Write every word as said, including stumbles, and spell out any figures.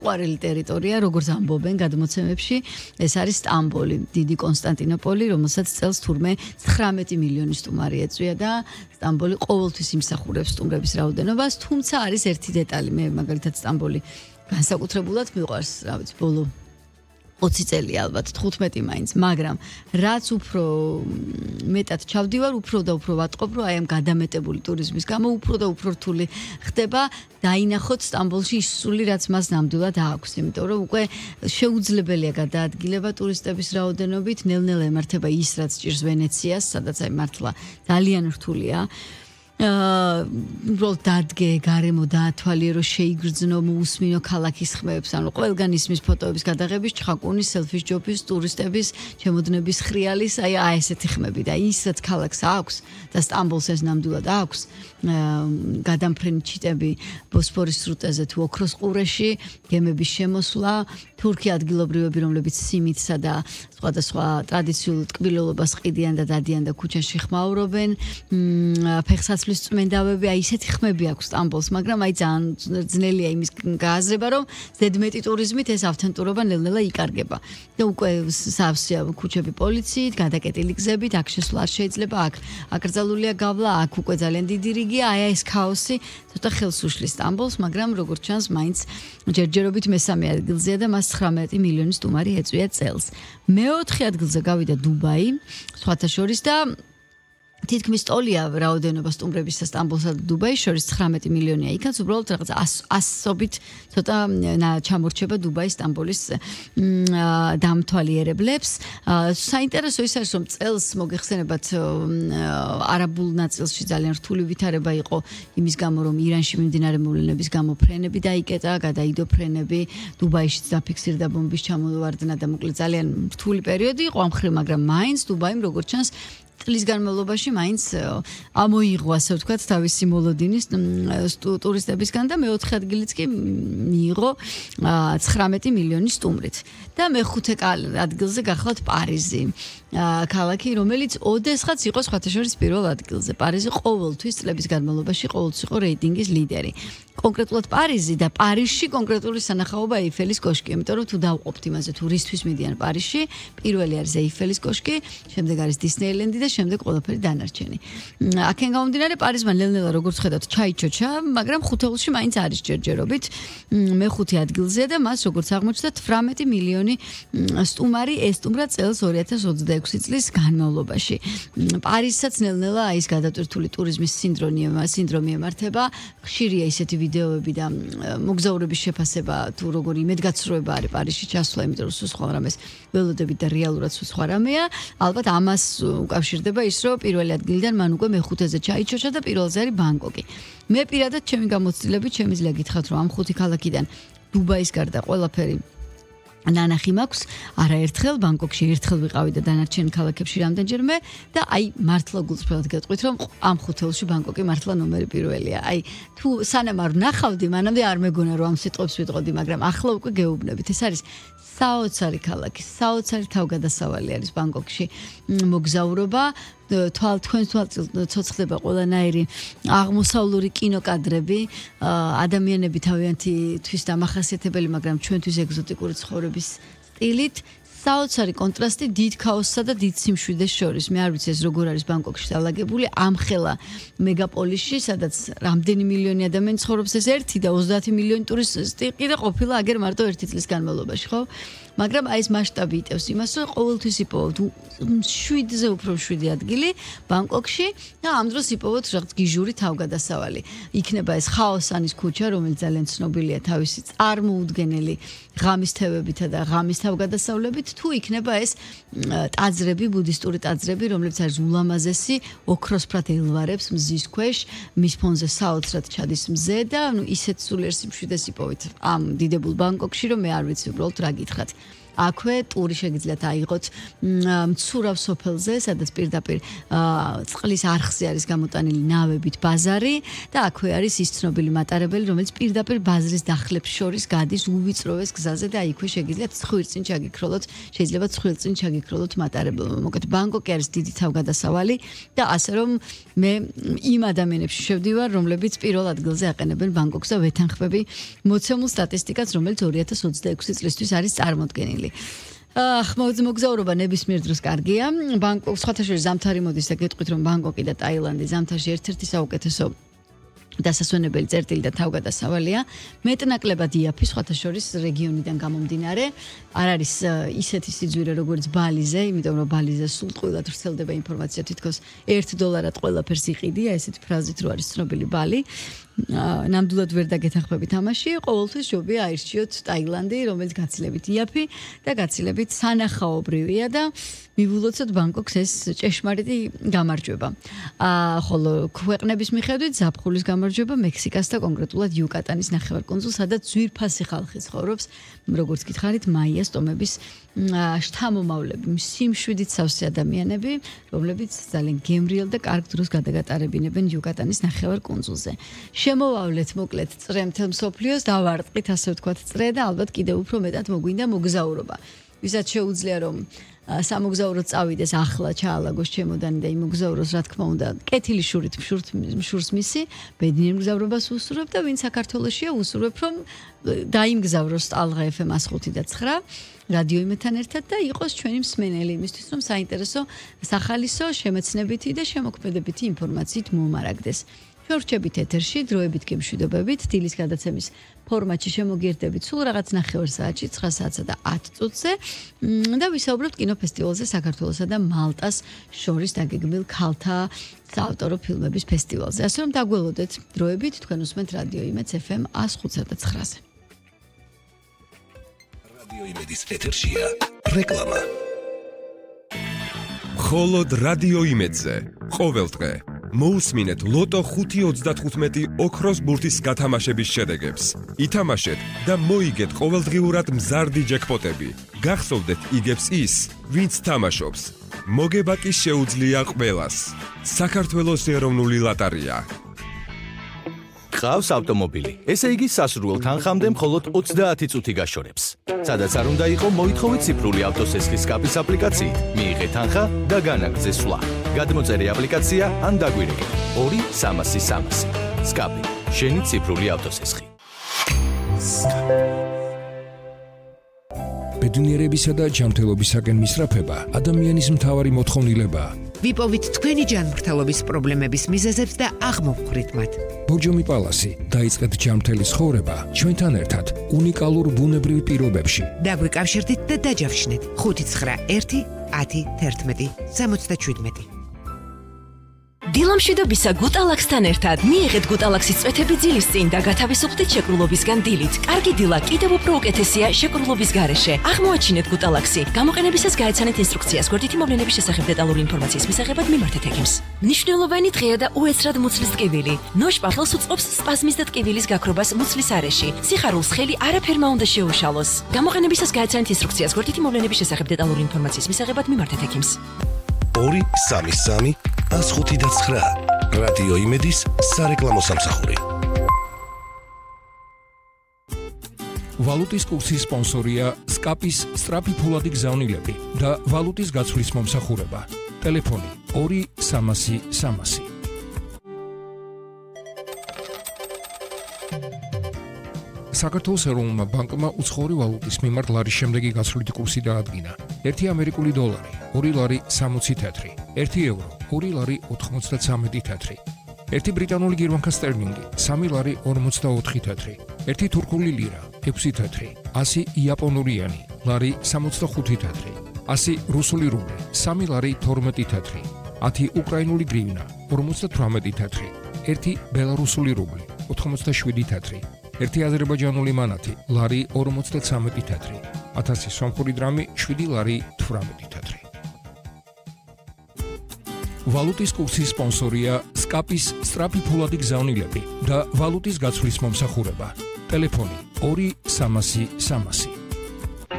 ყვარელი ტერიტორია, როგორც ამბობენ გადმოცემებში, ეს არის სტამბოლი, დიდი კონსტანტინოპოლი, რომელსაც წელს თურმე ცხრამეტი მილიონი სტუმარი ეწვია და სტამბოლი ყოველთვის იმსახურებს სტუმრების რაოდენობას, თუმცა არის ერთი დეტალი, მე მაგალითად სტამბოლი განსაკუთრებულად მიყვარს, რა ვიცი, ბოლო ოცი წელი ალბათ, თხუთმეტი მაინც, მაგრამ რაც უფრო მეტად ჩავდივარ, უფრო და უფრო ვატყობ, რომ აი ამ გადამეტებული ტურიზმის გამო უფრო და უფრო რთული ხდება დაინახოთ სტამბოლში ის სული, რაც მას ნამდვილად აქვს, იმიტომ რომ უკვე შეუძლებელია გადაადგილება ტურისტების რაოდენობით, ნელ-ნელა ემართება ის, რაც ჭირს ვენეციას, სადაც აი მართლა ძალიან რთულია. უბრალოდ დადგე, გარემო დაათვალიერო, შეიგრძნო, მოусმინო ქალაქის ხმებს, ანუ ყველგან ისმის ფოტოების გადაღების, ჩხაკუნის, სელფის ჯობის, ტურისტების, ჩემოდნების ხრიალის, აი აი ესეთი ხმები და ისაც ქალაქს აქვს და სტამბოლს ეს ნამდვილად აქვს, გადამფრენი ჩიტები ბოსფორის სრუტეზე თუ ოქროს ყურეში, გემების შემოსვლა, თურქი ადგილობრივები, რომლებიც სიმითსა და სხვადასხვა ტრადიციულ ტკბილელობას ყიდიან და დადიან და ქუჩაში ხმაურობენ, ფეხსაცმლის წმენდავები, აი ისეთი ხმები აქვს სტამბოლს, მაგრამ აი ძალიან ძნელია იმის გააზრება, რომ ზედმეტი ტურიზმით ეს ავთენტურობა ნელ-ნელა იკარგება. და უკვე სავსეა ქუჩები პოლიციით, გადაკეტილი გზებით, აქ შესვლა არ შეიძლება, აქ აკრძალულია გავლა, აქ უკვე ძალიან დიდი რიგია, აი ეს ქაოსი ცოტა ხელს უშლის სტამბოლს, მაგრამ როგორც ჩანს, მაინც ჯერჯერობით მესამე ადგილზეა და მას ცხრამეტი მილიონი სტუმარი ეწვია წელს. მეოთხე ადგილზე გავიდა დუბაი, სხვათა შორის და თითქმის ტოლია რაოდენობა სტუმრებისა სტამბოლსა და დუბაის შორის ცხრამეტი მილიონია. იქაც უბრალოდ რაღაც ასობით ცოტა ჩამორჩება დუბაის სტამბოლის დამთვალიერებლებს. საინტერესო ის არის, რომ წელს მოგეხსენებათ არაბულ ნაწილში ძალიან რთული ვითარება იყო იმის გამო, რომ ირანში მიმდინარე მოვლენების გამო ფრენები დაიკეტა, გადაიდო ფრენები, დუბაიშიც დაფიქსირდა ბომბის ჩამოვარდნა და მოკლედ ძალიან რთული პერიოდი იყო ამ მხრივ, მაგრამ მაინც დუბაიმ როგორც ჩანს წლის განმავლობაში მაინც ამოიღო, ასე ვთქვათ, თავისი მოლოდინის ტურისტებისგან და მეოთხე ადგილიც კი მიიღო ცხრამეტი მილიონი სტუმრით. და მეხუთე ადგილზე გახლავთ პარიზი. ქალაქი, რომელიც ოდესღაც იყო სხვათა შორის პირველ ადგილზე. პარიზი ყოველთვის წლების განმავლობაში ყოველთვის იყო რეიტინგის ლიდერი. კონკრეტულად პარიზი და პარიზში კონკრეტული სანახაობა ეიფელის კოშკი, იმიტომ რომ თუ დავყოფთ იმაზე თუ რისთვის მიდიან პარიზში, პირველი არის ეიფელის კოშკი, შემდეგ არის დისნეილენდი და შემდეგ ყველაფერი დანარჩენი. აქენ გამომდინარე პარიზმა ნელ-ნელა როგორც ხედავთ ჩაიჩოჩა, მაგრამ ხუთეულში მაინც არის ჯერჯერობით მეხუთე ადგილზე და მას როგორც აღმოჩნდა ცხრამეტი მილიონი სტუმარი ესტუმრა წელს ორი ათას ოცდაექვსი წლის განმავლობაში. პარიზსაც ნელ-ნელა ის გადატვირთული ტურიზმის სინდრომი სინდრომი ემართება, ხშირია ისეთი ვიდეოები და მოგზაურების შეფასება თუ როგორი იმედგაცრუება არის პარიზში ჩასვლა, იმიტომ რომ სულ სხვა რამეს ველოდებით და რეალურად სულ სხვა რამეა. ალბათ ამას უკავშირდება ის, რომ პირველი ადგილიდან მან უკვე მეხუთეზე ჩაიჩოჩა და პირველზე არის ბანგკოკი. მე პირადად ჩემი გამოცდილებით შემიძლია გითხრათ, რომ ამ ხუთი ქალაქიდან დუბაის გარდა ყველაფერი ნანახი მაქვს, არაერთხელ ბანგკოკში ერთხელ ვიყავი და დანარჩენ ქალაქებში რამდენჯერმე და აი მართლა გულწრფელად გეტყვით, რომ ამ ხუთეულში ბანგკოკი მართლა ნომერი პირველია. აი თუ სანამ არ ვნახავდი, მანამდე არ მეგონა რომ ამ სიტყვებს ვიტყოდი, მაგრამ ახლა უკვე გეუბნებით. ეს არის საოცარი ქალაქი, საოცარი თავგადასავალი არის ბანგკოკში მოგზაურობა. თვალ თქვენ თვალ ცოცხლდება ყველანაირი აღმოსავლური კინოკადრები, ადამიანები თავიანთი თვის დამახასიათებელი, მაგრამ ჩვენთვის ეგზოტიკური ცხოვრების სტილით, საოცარი კონტრასტი დიდ ქაოსსა და დიდ სიმშვიდეს შორის. მე არ ვიცი ეს როგორ არის ბანგკოკში დალაგებული, ამხელა მეგაპოლისში, სადაც რამდენი მილიონი ადამიანი ცხოვრობს, ეს ერთი და ოცდაათი მილიონი ტურისტი ყიდა ყოფილა აგერ მარტო ერთი წლის განმავლობაში, ხო? მაგრამ აი ეს მასშტაბი იტევს იმას, რომ ყოველთვის იპოვოთ შვიდზე უფრო შვიდი ადგილი ბანგკოკში და ამ დროს იპოვოთ რაღაც გიჟური თავგადასავალი. იქნება ეს ხაოსანის ქუჩა, რომელიც ძალიან ცნობილია თავისი წარმოუდგენელი ღამის თევებითა და ღამის თავგადასავლებით, თუ იქნება ეს ტაძრები, ბუდისტური ტაძრები, რომლებიც არის ულამაზესი, ოქროსფრად ელვარებს მზის ქვეშ, მის ფონზე საოცრად ჩადის მზე და ნუ ისეთ სულიერ სიმშვიდეს იპოვით ამ დიდებულ ბანგკოკში, რომ მე არ ვიცი უბრალოდ რა გითხრათ. აქვე ტური შეგიძლიათ აიღოთ მცურავ სოფელზე, სადაც პირდაპირ წყლის არხზე არის გამოტანილი ნავებით ბაზარი და აქვე არის ის ცნობილი მატარებელი, რომელიც პირდაპირ ბაზრის დახლებს შორის გადის უვიწროვეს გზაზე და აქვე შეგიძლიათ ცხვირწინ ჩაგიქროლოთ, შეიძლება ცხვირწინ ჩაგიქროლოთ მატარებელმა. მოკლედ ბანგკოკი არის დიდი თავგადასავალი და ასე რომ მე იმ ადამიანებში შევდივარ, რომლებიც პირველ ადგილზე აყენებენ ბანგკოკს და ვეთანხმები მოცემულ სტატისტიკას, რომელიც ორი ათას ოცდაექვსი წლისთვის არის წარმოდგენილი. ახ მოგზაურობა ნებისმიერ დროს კარგია. ბანგკოკ სხვათა შორის ზამთარი მოდის და გეტყვით რომ ბანგკოკი და ტაილანდი ზამთარში ერთ-ერთი საუკეთესო დასასვენებელი წერტილი და თავგადასავალია. მეტნაკლებად იაფი სხვათა შორის რეგიონიდან გამომდინარე. არ არის ისეთი სიძვირე როგორც ბალიზე, იმიტომ რომ ბალიზე სულ ტყუილად ვრცელდება ინფორმაცია თითქოს ერთ დოლარად ყველაფერს იყიდია, ესეთი ფრაზით რო არის ცნობილი ბალი. ნამდვილად ვერ დაგეთანხმები თამაში, ყოველთვის ჯობია აირჩიოთ ტაილანდი, რომელიც გაცილებით იაფი და გაცილებით სანახაობრივია და მივულოცოთ ბანგკოკს ეს ჭეშმარიტი გამარჯვება. აა ხოლო ქვეყნების მიხედვით ზაფხულის გამარჯვება მექსიკას და კონკრეტულად იუკატანის ნახევარკუნძულს, სადაც ძვირფასი ხალხი ცხოვრობს, როგორც გითხარით, მაიას ტომების შთამომავლები, სიმშვიდით სავსე ადამიანები, რომლებიც ძალიან გემრიელ და კარგ დროს გადაგატარებინებენ იუკატანის ნახევარკუნძულზე. შემოვავლეთ მოკლედ წრე მთელ მსოფლიოს, დავარტყით ასე ვთქვათ წრე და ალბათ კიდევ უფრო მეტად მოგვინდა მოგზაურობა. ვისაც შეუძლია რომ სამოგზაურო წავიდეს ახლა ჩაალაგოს ჩემოდანი და იმოგზაუროს რა თქმა უნდა კეთილი შურით შურს მისი ბედნიერ მგზავრობას უსურვებ და ვინ საქართველოშია უსურვებ რომ დაიმგზავროს ტალღა ეფ ემ ხუთი და ცხრა რადიო იმედთან ერთად და იყოს ჩვენი მსმენელი იმისთვის რომ საინტერესო სახალისო შემეცნებითი და შემოქმედებითი ინფორმაციით მომარაგდეს. შორჩებით ეთერში, დროებით კი მშვიდობებით, დილის გადაცემის ფორმატში შემოგიერთდებით სულ რაღაც ნახევარ საათში, ცხრა საათსა და ათ წუთზე და ვისაუბრებთ კინოფესტივალზე საქართველოსა და მალტას შორის დაგეგმილ ქალთა საავტორო ფილმების ფესტივალზე. ასე რომ დაგველოდეთ დროებით, თქვენ უსმენთ რადიო იმედს ეფ ემ ათს და ცხრაზე. რადიო იმედის ეთერშია რეკლამა. მხოლოდ რადიო იმედზე ყოველდღე მოусმინეთ ლოტო ხუთი ოცდათხუთმეტი ოქროს ბურთის გათამაშების შედეგებს. ითამაშეთ და მოიგეთ ყოველდღიურად მზარდი ჯეკპოტები. გახსოვდეთ იგებს ის, ვინც თამაშობს. მოგება კი შეუძლია ყველას. საქართველოს ეროვნული ლოტარია. ყავს ავტომობილი. ესე იგი სასურველ თანხამდე მხოლოდ ოცდაათი წუთი გაშორებს. სადაც არ უნდა იყო მოითხოვეთ ციფრული ავტოსესხლის კაპის აპლიკაციით. მიიღეთ თანხა და განაგრძე სვლა. გადმოწერე აპლიკაცია ან დაგვირეკე. ორი სამასი სამასი. სკაპი. შენი ციფრული ავტოსესხი. ბედნიერებისა და ჯანმრთელობისაკენ მისწრაფება ადამიანის მთავარი მოთხოვნილებაა. ვიპოვით თქვენი ჯანმრთელობის პრობლემების მიზეზებს და აღმოვხვრით მათ. ბორჯომი პალასი დაიწყეთ ჯანმრთელი ცხოვრება ჩვენთან ერთად უნიკალურ ბუნებრივ პირობებში. დაგვიკავშირდით და დაჯავშნეთ ხუთი ცხრა ერთი ათი თერთმეტი სამოცდაშვიდმეტი. დილამშვიდობისა გუტალაქსთან ერთად მიიღეთ გუტალაქსის წვეთები ძილის წინ და გათავისუფლდით შეკრულობისგან დილით. კარგი დილა კიდევ უფრო უკეთესია შეკრულობის გარეშე. აღმოაჩინეთ გუტალაქსი. გამოყენებისას გაეცანეთ ინსტრუქციას. გვერდითი მოვლენების შესახებ დეტალური ინფორმაციის მისაღებად მიმართეთ ექიმს. მნიშვნელოვანი დღეა და უეცრად მუცლის ტკივილი. ნოშპა ხელს უწყობს სპაზმის და ტკივილის გაქრობას მუცლის არეში. სიხარულს ხელი არაფერმა უნდა შეუშალოს. გამოყენებისას გაეცანეთ ინსტრუქციას. გვერდითი მოვლენების შესახებ დეტალური ინფორმაციის მისაღებად მიმართეთ ექიმს. ორი სამი სამი ას ხუთი და ცხრა. რადიო იმედის სარეკლამო სამსახური. ვალუტის კურსის სპონსორია სკაპის სწრაფი ფულადი გზავნილები და ვალუტის გაცვლის მომსახურება. ტელეფონი ორი სამასი სამასი. საქართველოს ეროვნულმა ბანკმა უცხოური ვალუტის მიმართ ლარის შემდეგი გაცვლითი კურსი დაადგინა. ერთი ამერიკული დოლარი, ორი ლარი სამოცი თეთრი, ერთი ევრო, ორი ლარი ოთხმოცდაცამეტი თეთრი, ერთი ბრიტანული გირვანქა სტერლინგი, სამი ლარი ორმოცდაოთხი თეთრი, ერთი თურქული ლირა, ექვსი თეთრი, ასი იაპონური იანი, ლარი სამოცდახუთი თეთრი, ასი რუსული რუბლი, სამი ლარი თორმეტი თეთრი, ათი უკრაინული გრივნა, ორმოცდათვრამეტი თეთრი, ერთი ბელარუსული რუბლი, ოთხმოცდაშვიდი თეთრი, ერთი აზერბაიჯანული მანათი, ლარი ორმოცდაცამეტი თეთრი, ათასი სომხური დრამი, შვიდი ლარი თვრამეტი თეთრი. ვალუტის კურსის სპონსორია სკაპის სწრაფი ფულადი გზავნილები და ვალუტის გაცვლის მომსახურება. ტელეფონი ორი სამასი სამასი.